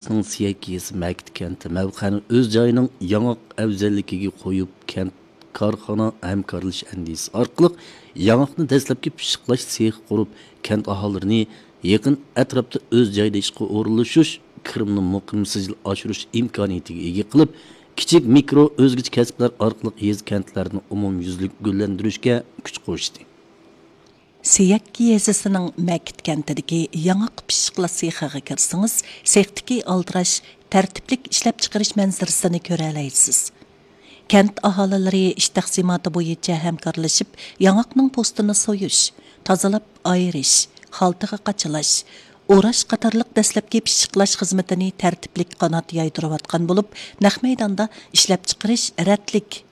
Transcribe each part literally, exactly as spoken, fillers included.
سىيەك يېزىسى مەكىت كەنتى مەۋقەنى ئۆز جايىنىڭ ياڭاق ئەۋزەللىكىگە قويۇپ، كەنت كارخانا ھەمكارلىشىش ئەندىزىسى ئارقىلىق ياڭاقنى دەسلەپكى پىششىقلاش سېخى قۇرۇپ، كەنت ئاھالىلىرىنى يېقىن ئەتراپتا ئۆز جايىدا ئىشقا ئورۇنلىشىش، كىرىمنى مۇقىم سىجىل ئاشۇرۇش ئىمكانىيىتىگە ئىگە قىلىپ، كىچىك، مىكرو، ئۆزگىچە كەسىپلەر ئارقىلىق يېزا، كەنتلەرنى ئومۇميۈزلۈك گۈللەندۈرۈشكە كۈچ قوشتى. سىيەك يېزىسىنىڭ مەكىت كەنتىدىكى ياڭاق پىششىقلاش سېخىغا كىرسىڭىز، سېختىكى ئالدىراش، تەرتىپلىك ئىشلەپچىقىرىش مەنزىرىسىنى كۆرەلەيسىز. كەنت ئاھالىلىرى ئىش تەقسىماتى بويىچە ھەمكارلىشىپ، ياڭاقنىڭ پوستىنى سويۇش، تازىلاپ ئايرىش، خالتىغا قاچىلاش، ئوراش قاتارلىق دەسلەپكى پىششىقلاش خىزمىتىنى تەرتىپلىك قانات يايدۇرۇۋاتقان بولۇپ، نەق مەيداندا ئىشلەپچىقىرىش رەتلىك،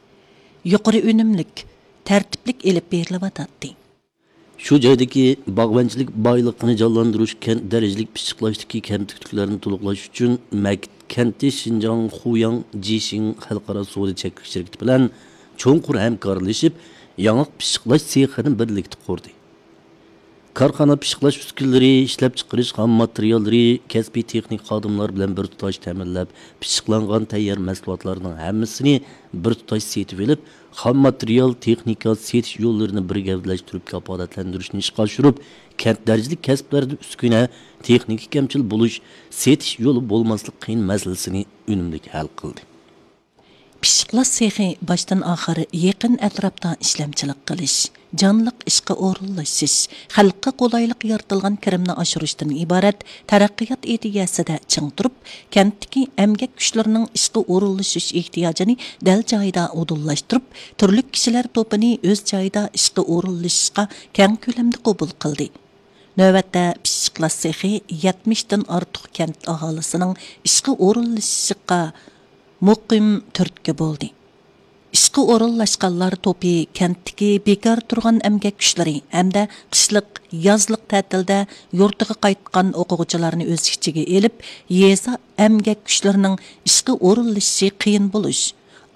يۇقىرى ئۈنۈملۈك، تەرتىپلىك ئېلىپ بېرىلىۋاتاتتى. شۇ جايدىكى باغۋەنچىلىك بايلىقىنى جانلاندۇرۇش، كەنت دەرىجىلىك پىششىقلاشتىكى كەمتۈكلۈكلەرنى تولۇقلاش ئۈچۈن، مەكىت كەنتى شىنجاڭ خۇياڭ جىشىڭ خەلقئارا سودا چەكلىك شىركىتى بىلەن چوڭقۇر ھەمكارلىشىپ، ياڭاق پىششىقلاش سېخىنى بىرلىكتە قۇردى. كارخانا پىششىقلاش ئۈسكۈنىلىرى، ئىشلەپچىقىرىش خام ماتېرىياللىرى، كەسپىي تېخنىك خادىملار بىلەن بىر تۇتاش تەمىنلەپ، پىششىقلانغان تەييار مەھسۇلاتلارنىڭ ھەممىسىنى بىر تۇتاش سېتىۋېلىپ، خام ماتېرىيال، تېخنىكا، سېتىش يوللىرىنى بىر گەۋدىلەشتۈرۈپ كاپالەتلەندۈرۈشنى ئىشقا ئاشۇرۇپ، كەنت دەرىجىلىك كەسىپلەردە ئۈسكۈنە، تېخنىكا كەمچىل بولۇش، سېتىش يولى بولماسلىق قىيىن مەسىلىسىنى ئۈنۈملۈك ھەل قىلدى. پىششىقلاش سېخى باشتىن ئاخىر يېقىن ئەتراپتا ئىشلەمچىلىك قىلىش، جانلىق ئىشقا ئورۇنلىشىش، خەلققە قولايلىق يارىتىلغان كىرىمنى ئاشۇرۇشتىن ئىبارەت تەرەققىيات ئىدىيەسىدە چىڭ تۇرۇپ، كەنتتىكى ئەمگەك كۈچلىرىنىڭ ئىشقا ئورۇنلىشىش ئېھتىياجىنى دەل جايىدا ئۇدۇللاشتۇرۇپ، تۈرلۈك كىشىلەر توپىنى ئۆز جايىدا ئىشقا ئورۇنلىشىشقا كەڭ كۆلەمدە قوبۇل قىلدى. نۆۋەتتە، پىششىقلاش سېخى يەتمىشتىن ئارتۇق كەنت ئاھالىسىنىڭ ئىشقا ئورۇنلىشىشىغا مۇقىم تۈرتكە بولدى. ئىشقا ئورۇنلاشقانلار توپى كەنتتىكى بىكار تۇرغان ئەمگەك كۈچلىرى ھەمدە قىشلىق، يازلىق تەتىلدە يۇرتىغا قايتقان ئوقۇغۇچىلارنى ئۆز ئىچىگە ئېلىپ، يېزا ئەمگەك كۈچلىرىنىڭ ئىشقا ئورۇنلىشىشى قىيىن بولۇش،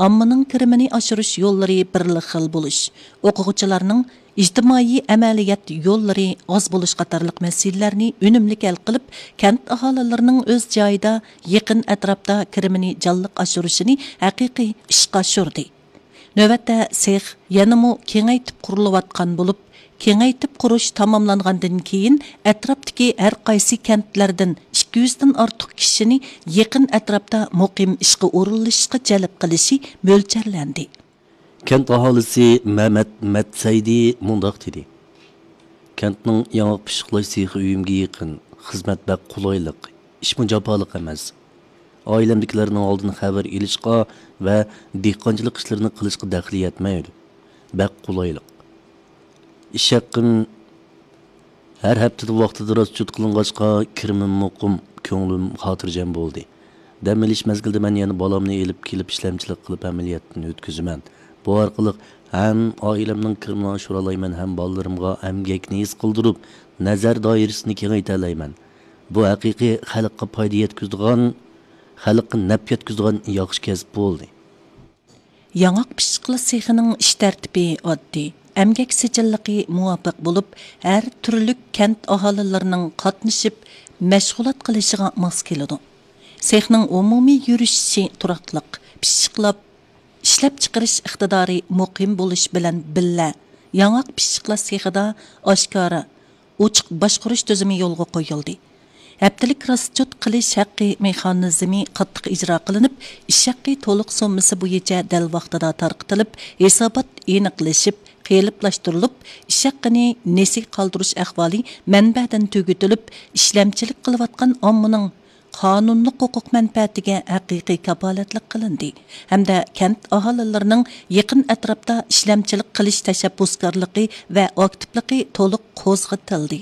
ئاممىنىڭ كىرىمىنى ئاشۇرۇش يوللىرى بىرلا خىل بولۇش، ئوقۇغۇچىلارنىڭ ئىجتىمائىي ئەمەلىيەت يوللىرى ئاز بولۇش قاتارلىق مەسىلىلەرنى ئۈنۈملۈك ھەل قىلىپ، كەنت ئاھالىلىرىنىڭ ئۆز جايىدا، يېقىن ئەتراپتا كىرىمىنى جانلىق ئاشۇرۇشىنى ھەقىقىي ئىشقا ئاشۇردى. نۆۋەتتە سېخ يەنىمۇ كېڭەيتىپ قۇرۇلۇۋاتقان بولۇپ، كېڭەيتىپ قۇرۇش تاماملانغاندىن كېيىن، ئەتراپتىكى ھەر قايسى كەنتلەردىن ئىككى يۈزدىن ئارتۇق كىشىنى يېقىن ئەتراپتا مۇقىم ئىشقا ئورۇنلىشىشقا جەلپ قىلىشى مۆلچەرلەندى. كەنت ئاھالىسى مەمەت مەتسەيدى مۇنداق دېدى: كەنتنىڭ ياڭاق پىششىقلاش سېخى ئۆيۈمگە يېقىن، خىزمەت بەك قولايلىق، ئىشمۇ جاپالىق ئەمەس. ئائىلەمدىكىلەرنىڭ ئالدىن خەۋەر ئېلىشقا ۋە دېھقانچىلىق ئىشلىرىنى قىلىشقا دەخلى يەتمەيدۇ. بەك قولايلىق. ئىش ھەققىم ھەر ھەپتىدە ۋاقتىدا راسچوت قىلىنغاچقا، كىرىمىم مۇقىم، كۆڭلۈم خاتىرجەم بولدى. دەم ئېلىش مەزگىلىدە مەن يەنە بالامنى ئېلىپ كېلىپ ئىشلەمچىلىك قىلىپ ئەمەلىيەتتىن ئۆتكۈزىمەن. بۇ ئارقىلىق ھەم ئائىلەمنىڭ كىرىمىنى ئاشۇرالايمەن، ھەم بالىلىرىمغا ئەمگەكنى ھېس قىلدۇرۇپ، نەزەر دائىرىسىنى كېڭەيتەلەيمەن. بۇ ھەقىقىي خەلققە پايدا يەتكۈزىدىغان، خەلققە نەپ يەتكۈزىدىغان ياخشى كەسىپ بولدى. ياڭاق پىششىقلاش سېخىنىڭ ئىش تەرتىپى ئاددىي، ئەمگەك سىجىللىقى مۇۋاپىق بولۇپ، ھەر تۈرلۈك كەنت ئاھالىلىرىنىڭ قاتنىشىپ مەشغۇلات قىلىشىغا ماس كېلىدۇ. سېخنىڭ ئومۇمىي يۈرۈشۈشى تۇراقلىق، پىششىقلاپ ئىشلەپچىقىرىش ئىقتىدارى مۇقىم بولۇش بىلەن بىللە، ياڭاق پىششىقلاش سېخىدا ئاشكارا، ئوچۇق باشقۇرۇش تۈزۈمى يولغا قويۇلدى. ھەپتىلىك راسچوت قىلىش ھەققى مېخانىزمى قاتتىق ئىجرا قىلىنىپ، ئىش ھەققى تولۇق سوممىسى بويىچە دەل ۋاقتىدا تارقىتىلىپ، ھېسابات ئېنىقلىشىپ، قېلىپلاشتۇرۇلۇپ، ئىش ھەققىنى نېسىگە قالدۇرۇش ئەھۋالى مەنبەدىن تۈگىتىلىپ، ئىشلەمچىلىك قىلىۋاتقان ئاممىنىڭ قانۇنلۇق ھوقۇق مەنپەئەتىگە ھەقىقىي كاپالەتلىك قىلىندى ھەمدە كەنت ئاھالىلىرىنىڭ يېقىن ئەتراپتا ئىشلەمچىلىك قىلىش تەشەببۇسكارلىقى ۋە ئاكتىپلىقى تولۇق قوزغىتىلدى.